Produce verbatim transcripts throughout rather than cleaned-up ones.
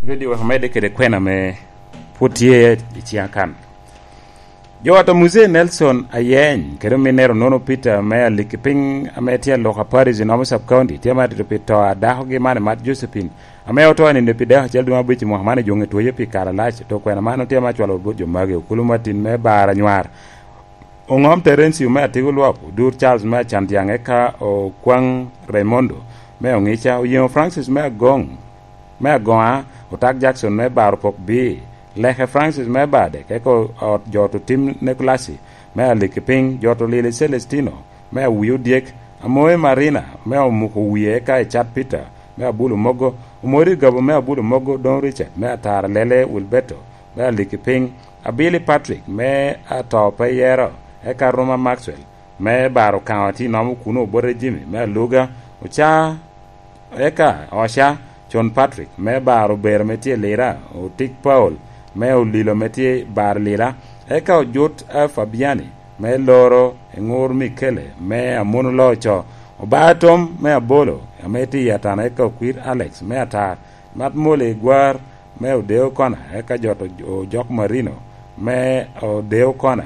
Bedo wek amedde kede kwena ame pwod tye i ciŋa kan. Jo ata Muse Nelson Ayeny kede ominnere Onono Peter me Alikipiny ame tye aloka Paris i Nomo Sub County tye ma atito pi to a dakogi man i mat Josephine ame oto i nino pi dek acel dwe abic i mwaka man i June twoye pi kare alac. To kwena man otye ma acwalo bot jo magi, Okulu Martin me Bar Anywar, Oŋom Terencio me Atigo Lwap, Odur Charles me Acantiaŋ, eka Okwaŋ Raimondo me Oŋica, Oyeŋo Francis me Agoŋ, me Agoŋa, Otak Jackson me Bar Opok Bii, Leke Francis me Badek, eka ot jot otim Nekulasi me Alikipiny, jot olili Celestino me Awii Odyek, Amoe Marina me Omuko Wie, eka Icat Peter me Abulo Mogo, Omori Gabo me Abulo Mogo, Don Richard me Atara Lele, Wilberto me Alikipiny, Abili Patrick me Ato Pe Yero, eka Ruma Maxwell me Bar Okaŋo tye i Nomo kuno, Obote Jimmy me Aluga, Oca, eka Oca Con Patrick me Bar Obero ame tye i Lira, Otik Paul me Olilo ame tye i Bar Lira, eka Ojut, eh, Fabiani me Loro, Eŋur Mikele me Amuno Loco, Obatom me Abolo ame tye i Atana, eka Okwir Alex me Atar, Mat Mole Igwar me Odeo Kona, eka jot o-, Ojok Marino me Odeo Kona,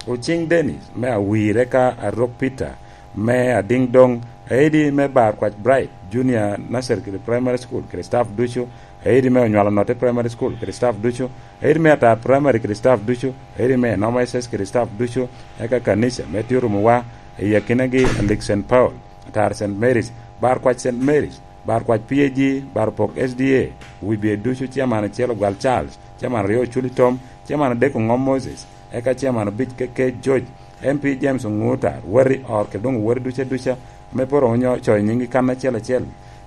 Ociŋ Dennis me Awir, eka Arok Peter me Adiŋ Doŋ, Aidi me Bar Kwac Bright Junior Nursery kede Primary School kede staff ducu, Aidi me Onywalo Notte Primary School kede staff ducu, Aidi me Atar Primary kede staff ducu, Aidi me Nomo S S kede staff ducu, eka kanica me tye orumowa i akinagi Alik Saint Paul, Atar Saint Mary's, Bar Kwac Saint Mary's, Bar Kwac P A G, Bar Pok S D A, Wibye ducu, Chairman acel Ogwal Charles, Chairman aryo Oculi Tom, Chairman adek Oŋom Moses, eka Chairman abic K K George, M P James Oŋuta, Wari Or, kede doŋ Wari duca duca, ame pe oromo nyo coyo nyinggi kan acel acel.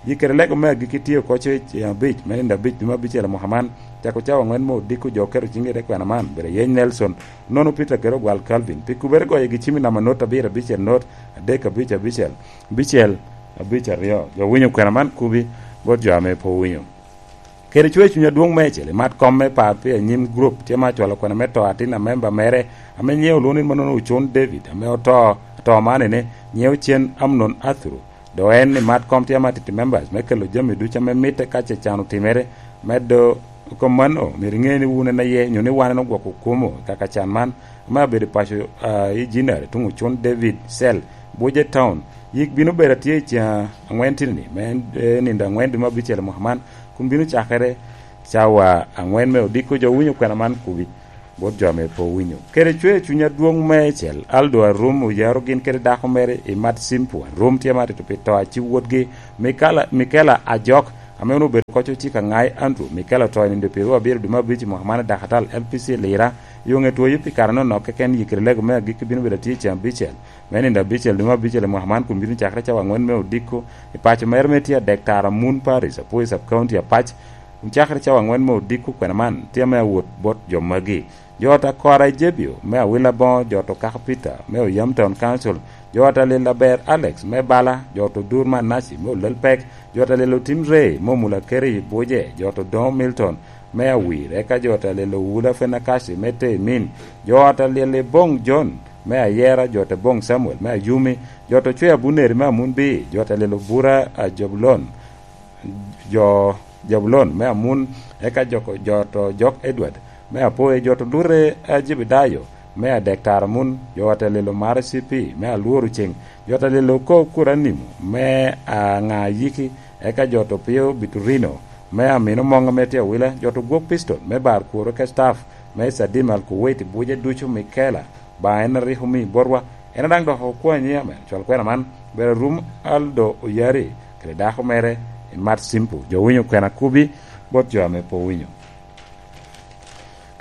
Yi kede lego me agikki tye oko coc i abic, me nino abic, dwe me abicel i mwaka man, cako cawa aŋwen me odiko jo oketo ciŋgi i te kwena man, bedo Ayeny Nelson, Onono Peter kede Ogwal Calvin. Pi kubere goyo gi cim i namba not abiro abicel not, adek abic abicel, abicel, abic aryo. Jo winyo kwena man kubi bot jo ame pe owinyo. Kede cwer cuny adwoŋ meicel i mat kom me par pi anyim grup, tye ma acwalo kwena me to atin a memba mere ame nyiŋe olwoŋo ni manono Ocon David, ame oto, ato man ene, nyiŋe ocen Amnon Athuru. Dok en i mat kom tye ma titi members me kelo jami ducu ame mitte ka ce can otimere, medo kom mano, myero iŋe ni wun en aye, nyo ni wan en ogwoko kumo kaka can man, ame abedo i paco, ah, i Jinare, tuŋ Ocon David Cell, Buje Town. Yik bino bedo atye i cen aŋwen tini-ni, me en, eh, nino aŋwen dwe me abicel i mwaka man, kun bino cakere cawa aŋwen me odiko. Jo winyo kwena man kubi bot jo ame pe owinyo. Kede cwer cuny adwoŋ meicel, Aldo Arum oyaro gin kede dako mere i mat Simpu. Arum tye ma tito pi to a ci wotgi, Mikala, Mikela Ajok, ame onwoŋo obedo koc ociko aŋai Andrew. Mikela oto i nino dwe pyeraryo abiro dwe me abic i mwaka man i Dakatal L P C Lira, yo ŋe twoyo pi kare nonok keken. Yik kede lego me agikki bino bedo atye i cen abicel me nino abicel dwe me abicel i mwaka man, kun bino cakere cawa aŋwen me odiko i paco mere me tye adek tara Mun Paris, Apwoyo Sub County Apac, kun cakere cawa aŋwen me odiko kwena man tye ame awot bot jo magi. Jo ata Kora i Jebio me Awila Boŋo, jo to Kaka Peter me Oyam Town Council, jo ata Lil Aber Alex me Bala, jo to Dur Manaci me Olel Pek, jo ata Lil Otim Ray me Omula Keri i Buje, jo to Doŋo Milton me Awir, eka jo ata Lil Owula Fenakaci me Temin, jo ata Lil Boŋ John me Ayera, jo to Boŋ Samuel me Ayumi, jo to Cwe Abuneri me Amunbi, jo ata Lil Obura a Jobulon, jo Jabulon me Amun, eka jo, jo to Jok Edward me Apoe, jo to Lure a Jebedayo me Adek Tara Amun, jo ata Lil Omara C P me Alworo Ceng, jo ata Lil Oko Kuranimo me Aŋa Yiki, eka jo to Pio Biturino me Amino Moŋ ame tye Awila, jo to Gwok Piston me Bar Kworo, eka staff me Sadim Al Kuwait i Buje ducu, Mikela, ba en a rik omi botwa, en a daŋ dok okwanyi, amen. Cwal kwena man, bedo Arum Aldo Oyari kede dako mere i Mat Simpu. Jo winyo kwena kubi bot jo ame pe owinyo.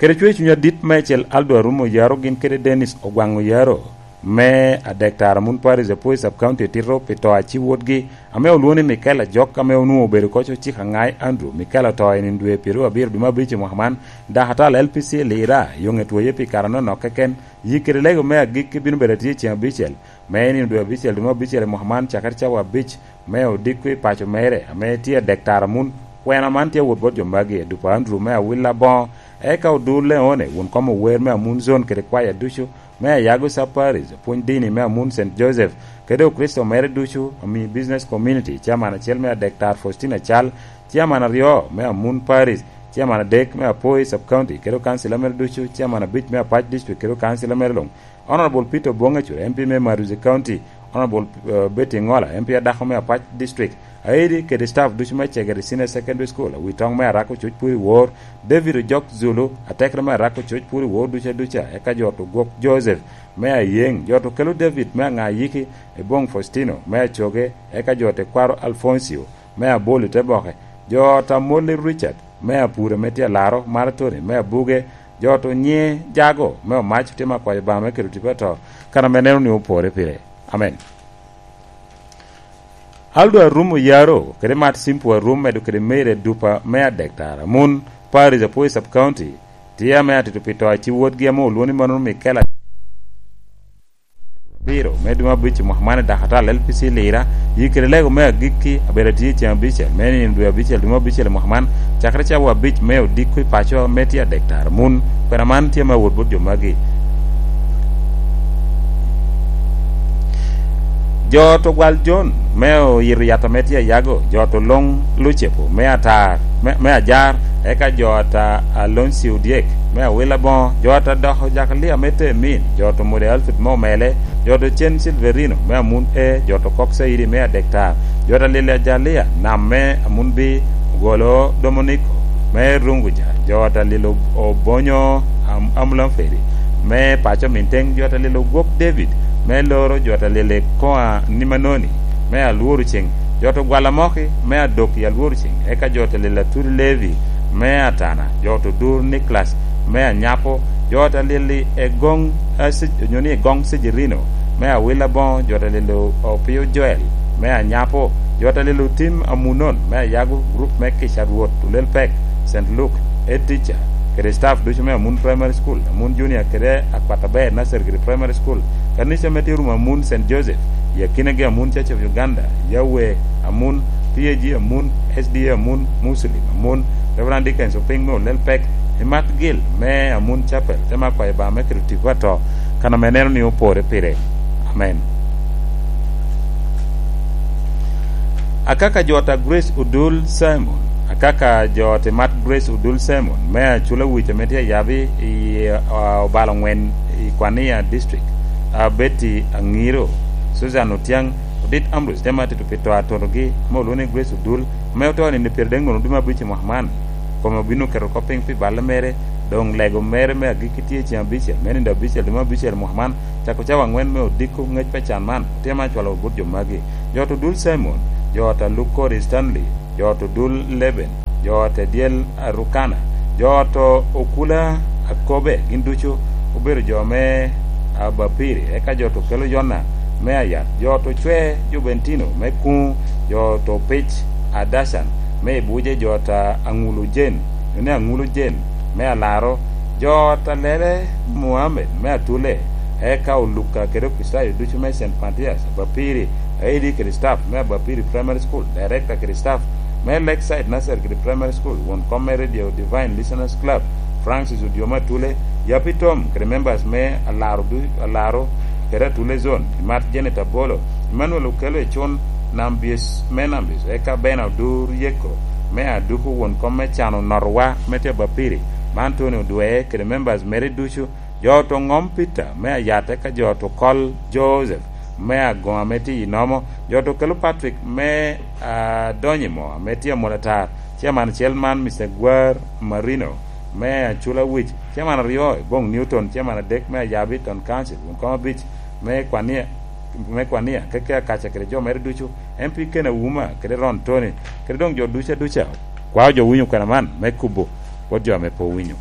Kede cwer cuny adit meicel, Aldo Arum Oyaro gin kede Dennis Ogwaŋ Oyaro me Adek Tara Mun Paris, Apwoyo Sub County, etito pi to a ci wotgi, ame olwoŋo ni Michael Ajok, ame onwoŋo obedo koc ociko aŋai Andrew. Michael oto i nino dwe pyeraryo abiro dwe me abic i mwaka man, Dakatal L P C Lira, yo ŋe twoye pi kare anonok keken. Yik kede lego me agikki bino bedo atye i cen abicel, me i nino dwe abicel dwe me abicel i mwaka man, cakere cawa abic me odiko i paco mere, ame tye Adek Tara Amun. Kwena man tye awot bot jo magi, Adupa Andrew me Awila Boŋo, eka Odur Leone, wun kom ower me Amun Zone kede kwaya ducu, me Ayago Sub Parish, opwony dini me Amun Saint Joseph, kede Okricito mere ducu, Ami Business Community, Chairman acel me Adek Tara Faustina Cal, Chairman aryo me Amun Parish, Chairman adek me Apoi Sub County kede okancila mere ducu, Chairman abic me Apac District kede okancila mere luŋ, Honorable Peter Obong Acura, M P me Maruzi County, Honorable, eh, Betty Ngola, M P adako me Apac District, Aidi kede staff ducu me Cegere Senior Secondary School, Awitoŋ me Arako Coc Puri Wor, David Ojok Zulu, atekere me Arako Coc Puri Wor ducu aduca, eka jo to gwok Joseph me Ayeŋ, jo to kelo David me Aŋayiki, Ebong Faustino me Acoge, eka jo te kwaro Alfoncio me Aboli te boke, jo ta Molly Richard me Apure me tye Alaro, Mara Tony me Abuge, jo to nye Jago me Omac tye me akwayo Obaŋa me kelo tipo ato, kan ame neno ni opore pire. Amen. Aldo Arum Oyaro kede Mat Simpu Arum medo kede Meire Dupa me Adek Tara, Mun, Paris Apwoyo Sub County, tye ame atito pi to aci wotgi ame olwoni mano Mikela. Abiro, me dwe me abic i mwaka man i Dakata L P C Lira, yi kede lego me agikki abedo atye i ceng abicel, me nino dwe abicel, dwe me abicel i mwaka man, cakere cawa abic me odiko i paco me tye Adek Tara, Mun, kwena man tye me awot bot jo magi. Jo to gwal Jon me oyito yat ame tye Ayago, jo to Loŋ Lucepo me Atar, me, me Ajar, eka jo ata Alonsi Odyek me Awila Boŋo, jo ata Doko Jakalia me Temin, jo to Mode Alfred me Omele, jo to Cen Silverino me Amun E, jo to Kok Caidi me Adek Tar, jo ata Lili Ajalia Nam me Amun Bi, Ogolo Domoniko me Runguja, jo ata Lili Ob-, Obonyo Am-, Amulamferi me paco Minteŋ, jo ata Lili Ogwok David me Loro, jo ata Lili Koa Nimanoni me Alworo Ceŋ, jo to Gwala Moki me Adok i Alworo Ceŋ, eka jo ata Lili Atudi Levi me Atana, jo to Dur Niklas me Anyapo, jo ata Lili Egoŋ, a, Sej-, onyo ni Egoŋ Sejerino me Awila Boŋo, jo ata Lili O-, Opio Joel me Anyapo, jo ata Lili Otim Amunon me Ayago, gurup me Kica Rwot Olel Pek, Saint Luke, Head Teacher, kede staff ducu me Amun Primary School, Amun Junior kede Akwat Aber Nursery kede Primary School, kanica me tye Rum Amun Saint Joseph, i akinagi Amun Church of Uganda, Yahweh Amun, P A G Amun, S D A Amun, Muslim Amun, Reverend Dickens Oping me Olel Pek, i Mat Gil me Amun Chapel, te me akwayo Obaŋa me kelo tipo ato, kan ame neno ni opore pire. Amen. Akaka jo ta Grace Odul Simon, akaka jo te Mat Grace Odul Simon, me Acula Wic ame tye ayabi i, ah, obalo ŋwen i Kwania District, ah, Betty Aŋiro, Susan Otiaŋ, Odit Ambrose, te ma tito pi to atotogi, ame olwoŋo ni Grace Odul, ame oto i nino pyeraryo nino dwe me abic i mwaka man. Kome obino keto kop piny pi balle mere, doŋ lego mere me agikki tye i ceng abicel, me nino abicel, dwe me abicel i mwaka man, cako cawa aŋwen me odiko ŋec pa can man, otyema acwalo bot jo magi. Jo to Dul Simon, jo ta Lukori Stanley, jo to Dul Leben, jo ta Dyel Arukana, jo to Okula Akobe, gin ducu obedo jo me Abapiri, eka jo to kelo Yona me Ayat, jo to Cwe Jubentino me Kuŋ, jo to Pic Adacan me Ibuje, jo ta Aŋulu Jen, jo ni Aŋulu Jen me Alaro, jo ta Lele Muhammed me Atule, eka Oluka kede Okricitayo ducu me Saint Mathias, Abapiri, Aidi kede staff me Abapiri Primary School, director kede staff me Lakeside Nursery kede Primary School, won kom me Radio Divine Listeners Club, Francis Odyoma Atule, Yapi Tom kede members me Alaro du-, Alaro kede Atule Zone, Imat Janet Abolo, Emmanuel Okello Ecun, Nambis me Nambis, eka Bena Odur Yeko me Aduku, won kom me Cano Notowa me tye Abapiri, man Tony Odwee kede members mere ducu, jo to Ŋom Peter me Ayat, eka jo to Kol Joseph me Agoŋa ame tye i Nomo, jo to kelo Patrick me, ah, Donyimo ame tye Amolatar, chairman acel man, Mister Gwar Marino me Acula Wic, chairman aryo Ebong Newton, chairman adek me Ayabi Town Council, won kom abic me Kwania, me Kwania, keke Akaca kede jo mere ducu, M P Ken Auma kede Ron Tony, kede doŋ jo ducu aduca. Kwao jo winyo kwena man me kubo bot jo ame pe owinyo.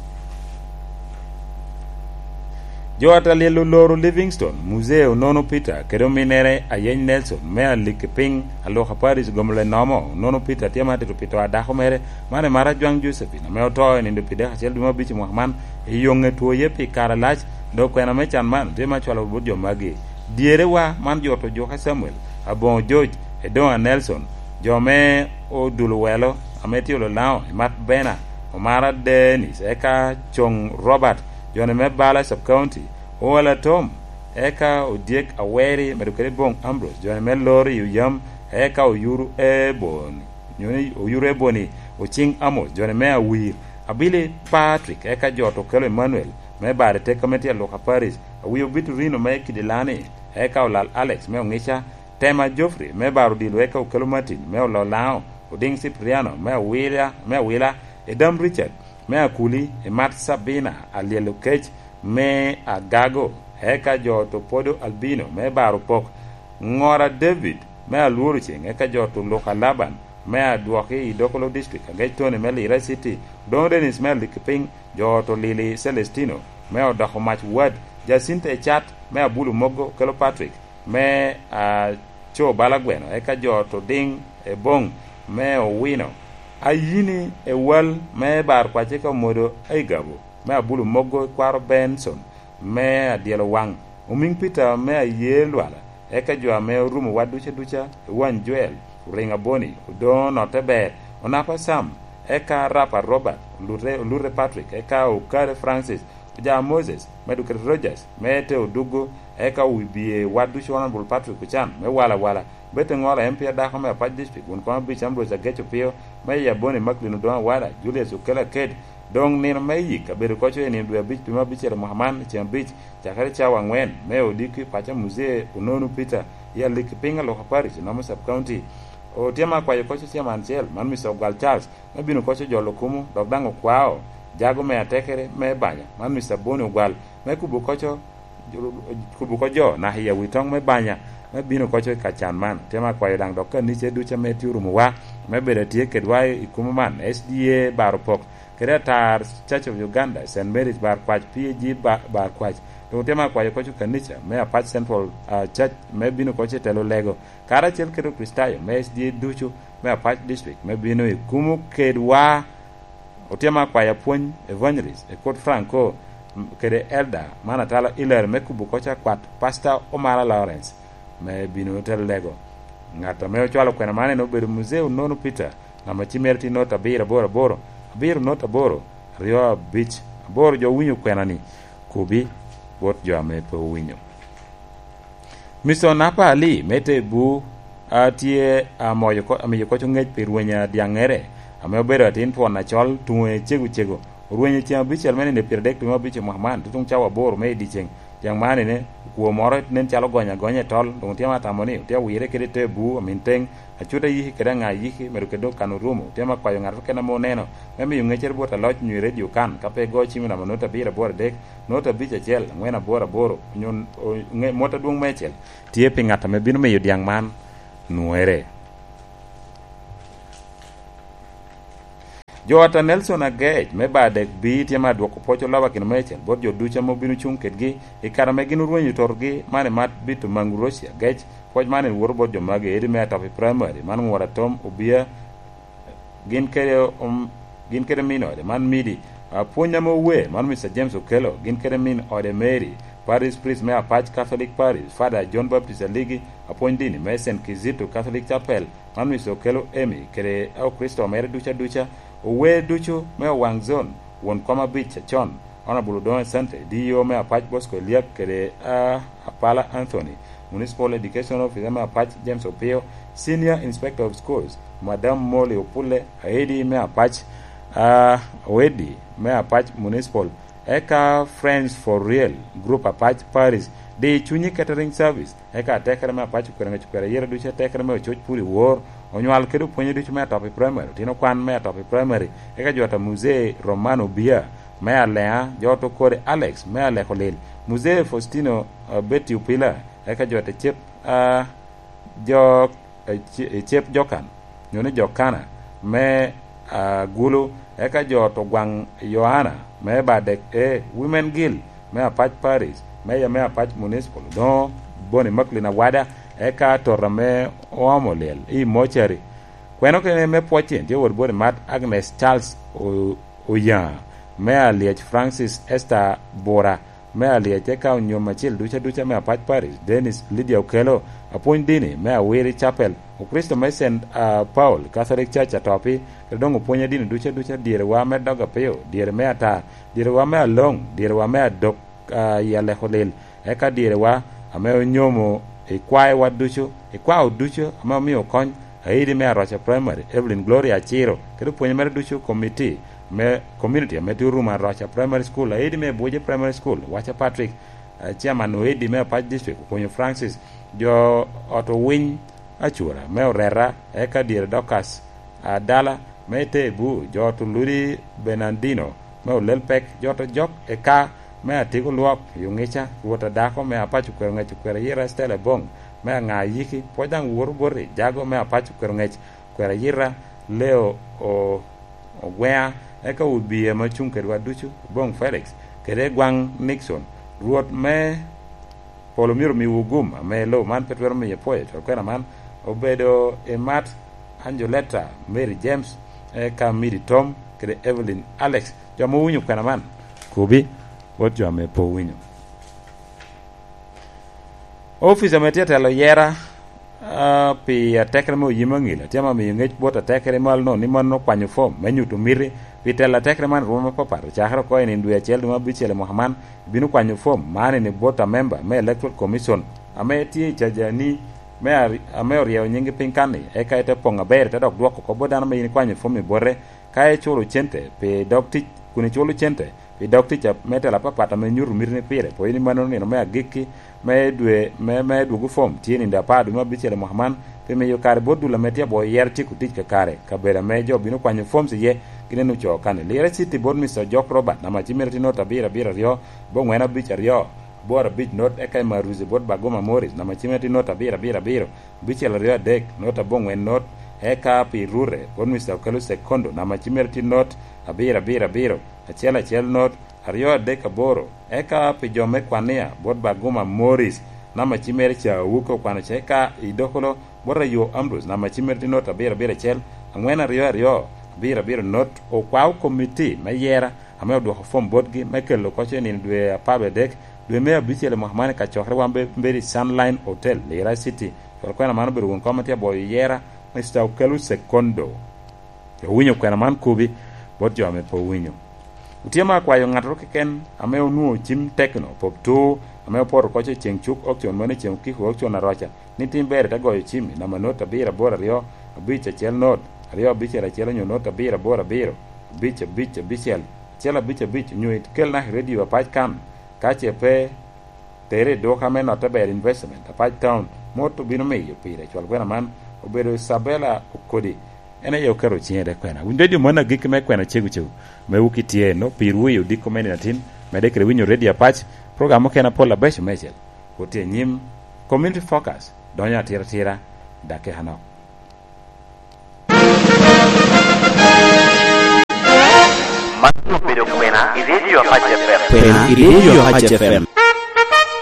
Jo Atalyel oloro Livingstone, Muzee Onono Peter, kede ominnere Ayeny Nelson, me Alikipiny, Aluka Paris, Gomolo Enomo, Onono Peter tye ma atito pi to a dako mere, man Emara Ajwaŋ Josephine, ame oto i nino pi dek acel dwe me abic i mwaka man, i yoŋe twoye pi kare alac, dok kwena me can man tye ma cwalo bot jo magi. Dyerewa man jo to Juka Samuel, Aboŋo George, Edoŋa Nelson, jo me Odul Owelo, ame tye Ololaŋo, Emat Bena, Omara Dennis, eka Coŋ Robert, joni me Bala Sub County, Owala Tom, eka Odyek Aweri, medo kede Boŋ Ambrose, joni me Lori Oyam, eka Oyuru Eboni, nyo ni Oyuru Eboni, Ociŋ Amos, joni me Awir, Abili Patrick, eka jo to kelo Emmanuel, me baro i teko me tye Luka Paris, Awio Vitorino me Kidilani, eka Olal Alex me Oŋica, Tema Geoffrey me baro odilo, eka Okelo Martin me Ololaŋo, Odiŋ Cipriano me Awila, me Awila, Edam Richard me Akuli, Emat Sabina Alyel Okec me Agago, eka jo to Podo Albino me baro pok, Ŋora David me Alworo Ceŋ, eka jo to Luka Laban me Adwoki i Dokolo District, Agec Tony me Lira City, Odoŋo Dennis me Alikipiny, jo to Lili Celestino me Odoko Mac Wad, Jacinta Ecat me Abulu Mogo, Kelo Patrick me, ah, Co Balagweno, eka jo to Diŋ Eboŋ me Owino, Ayini Ewal me Bar Kwac, eka Omodo Aigabo me Abulu Mogo, Kwaro Benson me Adyelo Waŋ, Omiŋ Peter me Aye Lwala, eka jo ame orumo wa duca duca, Ewan Joel, Oriŋ Aboni, Odoŋo Notte Ber, Onapa Sam, eka Rapa Robert, Olute, Olute Patrick, eka Okare Francis, Oja Moses, me Dukere Rogers, me te Odugo, eka Wibie wa ducu Honorable Patrick Ocan, me Wala Wala, Bete Ŋola, M P adako me Apac District, won kom abic Ambrose Agec Opio, me Yaboni Macklin Odoŋo Awada, Julius Okelo Aked, doŋ nino me yik abedo koco i nino dwe abic pi me abicel i mwaka man, ceŋ abic, cakere cawa aŋwen, me Odiki, paco Muzee Onono Peter, i Aliki piny Aluka Parish, Namo Sub County. Otema akwayo koco chairman acel, man Mister Ogwal Charles, me bino koco jolo kumo, dok daŋ okwao jago me atekere me banya, man Mister Boni Ogwal, me kubo koco, kubo ko jo naka i awi toŋ me banya, me bino koco i ka can man. Otema akwayo daŋ dok kanica ducu ame tye orumo wa, me bedo atye kedwa i kumo man, S D A Bar Opok, kede Atar Church of Uganda, Saint Mary's Bar Kwac, P A G Ba-, Bar Kwac. Doŋ otema akwayo koco kanica me Apac Central, ah, Church, me bino koco i telo lego, karacel kede Okricitayo me S D A ducu me Apac District, me bino i kumo kedwa. Otema akwayo apwony, evangelist, Ekot Franco, m-, kede elder man atalo Hilary, me kubo koco akwat Pastor Omara Lawrence, me bino telo lego. Ŋat ame ocwalo kwena man en obedo Muzee Onono Peter, namba cim mere tye not abiro aboro aboro, abiro not aboro, aryo abic aboro. Jo owinyo kwena-ni, kubi bot jo ame pe owinyo. Mister Onapa Ali me Tebu, a, tye amoyo ko-, amiyo koc oŋec pi rweny adyaŋŋere, ame obedo atin twon acol, tuŋe cego cego. Orwenyo ceŋ abicel me nino pyeradek tuŋ abic i mwaka man, tutuŋ cawa aboro me i dyeceŋ. Dyaŋ man ene, okwo moro nen calo ogonyo agonya i tol, doŋ otye atamo ni otye awire kede Tebu, amin teŋ, Acut Ayiki kede Aŋa Ayiki, medo kede Okan Orumo. Otye akwayo ŋat keken ame oneno, me miyo ŋeccere bot aloc nyo i redio kan, ka pe igo cim i namba not abiro aboro adek, not abic acel, aŋwen aboro aboro, onyo, o-, ŋe-, mot adwoŋ meicel tye pi ŋat ame bino miyo dyaŋ man nwoŋere. Jo ata Nelson Agec me Badek B tye me adwoko pwoc oloba kino meicel bot jo ducu ame obino cuŋ kedgi i kare ame gin orwenyo totogi man i mat bito maŋ Roci Agec. Pwoc man en woto bot jo magi, edi me Atopi Primary, man Ŋura Tom Obia, gin kede, um, gin kede min ode, man Midi. Apwony ame owe, man Mister James Okello, gin kede min ode Mary. Parish priest me Apac Catholic Parish, Father John Baptist Aligi, apwony dini me Saint Kizito Catholic Chapel, man Mister Okello Emmy, kede Okricito mere ducu aduca. Owe ducu me Owaŋ Zone, won kom abic acon, Honorable Odoŋo Asante, D E O me Apac Bosco Eliak, kede, ah, Apala Anthony, Municipal Education Officer me Apac James Opio, Senior Inspector of Schools, Madam Molly Opulle, Aidi me Apac, ah, Oedi me Apac Municipal, eka Friends for Real Group Apac Paris, Di Cunyi Catering Service, eka atekere me Apac Okwero Ŋec Okwero Ayera ducu, atekere me Ococ Pur i Wor, onywal kede opwonye ducu me Atopi Primary, otino kwan me Atopi Primary, eka jo ata Muzee Romano Bia, me Aleŋa, jo ata Okode Alex, me Aleko Lil, Muzee Faustino, ah, Betty Opila, eka jo ata Cep, ah, jo, eh, ce-, eh, Cep Jokan, nyo ni Jokana, me, ah, Gulu, eka jo ata Ogwaŋ Yohana, me Badek A, Women Guild, me Apac Parish, Mayor me Apac Municipal, Odoŋo Boni Macklin Awada, eka tota me Oomo Lyel i Mocari. Kweno kene me pwocce tye wot bot Imat Agnes Charles O-, Oyaŋa, me Alyec Francis Esther Bura, me Alyec, eka onyom acil duca duca me Apac Parish, Dennis Lydia Okello, apwony dini me Awiri Chapel, Okricito me Saint, ah, Paul Catholic Church Atopi, kede doŋ opwony a dini duca duca, dyerewa me Dog Apio, dyere me Atar, dyerewa me Aloŋ, dyerewa me Adok, ah, i Aleko Lil, eka dyerewa ame onyomo i kwaewa ducu, i kwao ducu ame omio kony, Aidi me Aroca Primary, Evelyn Gloria Aciro, kede opwonye mere ducu, komiti, me community ame tye Oruma Roca Primary School, aedi me Bwoje Primary School, Wacha Patrick, eh, chairman oedi me Apac District, Okonyo Francis, jo ot Owiny Acura me Oreta, eka dyere Dorcas Adala me Tebu, jo ot Oludi Bernardino me Olelpek, jo ot Ojok Eka me Atiko Lwok i Oŋica, Rwot Adako me Apac Okwero Ŋec Okwero Ayira Estela Ebong me Aŋa Ayiki, pwod daŋ woto boti Jago me Apac Okwero Ŋec Okwero Ayira Leo O-, Ogweŋa, eka obiye ame ocuŋ kedwa ducu, Obong Felix, kede Gwaŋ Nixon. Rwot me polo myero omiwu gum ame lobo man pe twero miyo ipwoyo. Col kwena man obedo i Mat Angeletta, Mary James, eka Midi Tom, kede Evelyn Alex. Jo ame owinyo kwena man, kobi bot jo ame pe owinyo. Ofice ame tye telo yera, ah, pi atekere me oyim aŋil, tye ame miyo ŋec bot atekere malo-nu ni mano okwanyo fom me nyuto miti pi telo atekere man i rwom apapat. Ocakere oko i nino dwe acel dwe me abicel i mwaka man, bino kwanyo fom man i bot amemba me Electoral Commission ame tye i cajani me ari-, ame oryeyo nyingi piny kan-ni, eka ite poŋ aber, ite dok dwoko oko bot dano ame yin ikwanyo fom i bote, ka iculo cente pi dog tic, kun iculo cente pi dog tic a-, me tela apapat ame nyuto miti ni pire, pwod ni mano nino me agikki me dwe, me, me dwogo fom tye nino apar dwe me abicel i mwaka man, pi miyo kare bot dul ame tye aboŋo yero tyeko tic kakare, kabedo ame jo bino kwanyo fom iye, gin en ocoo kan-ni. Lira City bot Mister Ojok Robert, namba cimere tye not abiro abiro aryo, bongwen abic aryo, aboro abic not, eka i Maruzi bot Baguma Morris, namba cimere tye not abiro abiro abiro, abicel aryo adek, not abongwen not, eka pi Rure bot Mister Okelo Sekondo, namba cimere tye not abiro abiro abiro, acel acel not, aryo adek aboro, eka pi jo me Kwania bot Baguma Morris, namba cimere ca Awuke okwano ca, eka i Dokolo bot Ayo Ambrose, namba cimere tye not abiro abiro acel, angwen aryo aryo, abiro abiro not, okwao komiti me yera ame odwoko fom botgi me kelo oko i nino dwe apar wie adek, dwe me abicel i mwaka man i kacokere wan be-, bedo i Sunline Hotel, Lira City. Cwal kwena man obedo won kom ma tye aboyo yera, Mister Okelo Sekondo. Owinyo kwena man kobi bot jo ame pe owinyo. Otye ma akwayo ŋattoro keken ame onwoŋo cim tekno, pop tur, ame opoto oko i ceŋ cuk auction, mano i ceŋ okiko auction Aroca, ni tim ber ite goyo cim i namba not abiro aboro aryo, abic acel not, aryo abicel acel onyo not abiro aboro abiro, abic abic abicel, acel abic abic, onyo ikel naka i radio Apac kan, ka ce pe, tere i duka me Notte Ber Investment, Apac Town, mot obino miyo pire. Cwal kwena man obedo Isabella Okodi, en aye oketo ciŋe i te kwena. Winy radio man agikki me kwena cego cego, me wuki tye eno, pirwu i odiko me nino atin, medde kede winyo radio Apac, program mukene apol abeco meicel. Wot i anyim, Community Focus donyo atira atira, dakika nok. Man obedo kwena i Radio Apac F M. Kwena i Radio Apac F M.